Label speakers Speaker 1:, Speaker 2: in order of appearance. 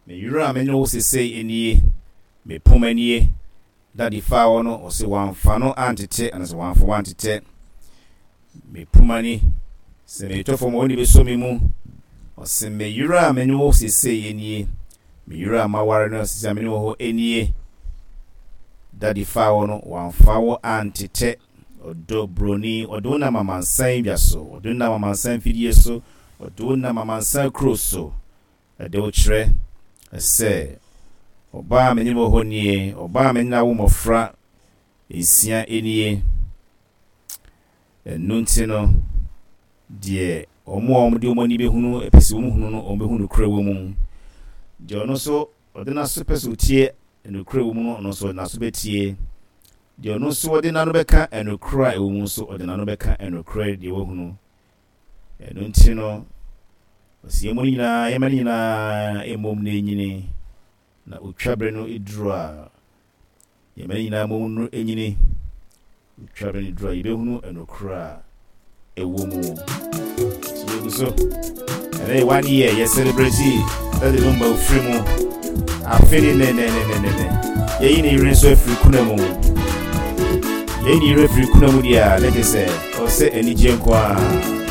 Speaker 1: Me yere a me ne wo sesei nie, me poma nie. Daddy faa wo no, ɔse wamfa no antete, anaasɛ wamfa wo antetɛ. Me poma ni, sɛ metɔ fam a wo na ɛbɛsɔ me mu. Ɔse me yere a me ne wo sesei nie, me yere a maware no sesei a me ne wo hɔ nie. Daddy faa wo no, wamfa wo antetɛ. Ɔdɔ broni, ɔde wo nam amansan dwa so, ɔde wo nam amansan mfidie so, ɔde wo nam amansan kuro so. Ɛde wo kyerɛ sɛ ɔbaa a me ne wɔ hɔ nie, ɔbaa a me ne no awo mmɔfra nsia nie. Ɛno nti no, deɛ wɔn a wɔde wɔn ani bɛhunu, pɛ sɛ wɔhunu no, wɔbɛhu nokorɛ wɔ mu. Deɛ ɔno nso ɔde n'aso pɛ sɛ ɔtie nokorɛ wɔ mu no, ɔno nso ɔde n'aso bɛtie. Deɛ ɔno nso ɔde n'ano bɛka nokorɛ a ɛwɔ mu nso, ɔde n'ano bɛka nokorɛ deɛ wahunu. Ɛno nti no, ɔsɛ yɛn mu no nyinaa, yɛma no nyinaa mmom na ɛnyini, na otwa berɛ no duru a, yɛma no nyinaa mmom no nyini. Otwa berɛ no duru a, yɛbɛhunu ɛnokorɛ a ɛwɔ mu. Nti yɛgu so. Ɛnɛ yɛ one year yɛ celebrate Daddy Lumba ofiri mu. Afe ne nɛnɛnɛnɛnɛ. Yɛyi ne yere nso afiri kuna mu. Yɛyi ne yere afiri kuna mu deɛ a, na kyerɛ sɛ ɔsɛ anigyeɛ nko ara.